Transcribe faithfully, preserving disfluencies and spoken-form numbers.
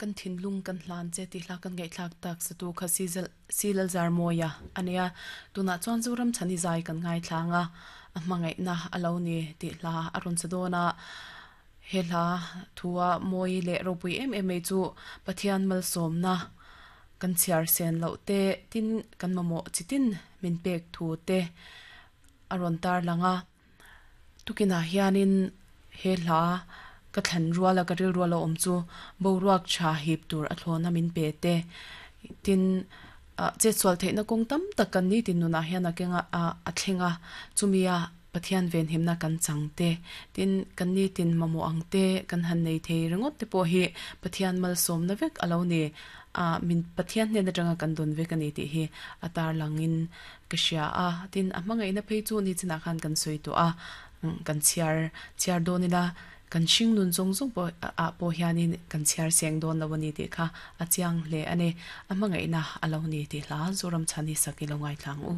Kan thinlung kan hlan che tih hla kan ngaihthlak tak satu kha Silal Zarmawia a nia. Tunah chuan Zoram chhani zai kan ngaithlang a, a hmangaihna a lo ni tih hla a rawn sa dawn a. He hla thua mawi leh ropui em em mai chu Pathian malsawmna kan chhiar sen loh te tin kan mamawh chitin min pek thu te a rawn tar lang a. Tukinah hianin he hla ka thlan ruala ka ril ruala awm chu boruak tha hip tur a thlawna min pe te tin che chual theihna kawng tam tak kan ni tin nunah hian a kenga a thlenga chumia Pathian ven himna kan chang te tin kan ni tin mamawh ang te kan han nei thei ringawt te pawh hi Pathian malsawmna vek a lo ni a min Pathian hnen atanga kan dawn vek ani tih hi a tar langin ka hria a tin a hmangaihna phei chu ni chinah khan kan sawi tawh a kan chhiar chhiar dawn ila kan hring nun zawng zawng pawh ah pawh hianin kan chhiar seng dawn lo ani tih kha a chiang hle ani a hmangaihna a lo ni tih hla Zoram chhani sak i lo ngaithlang u.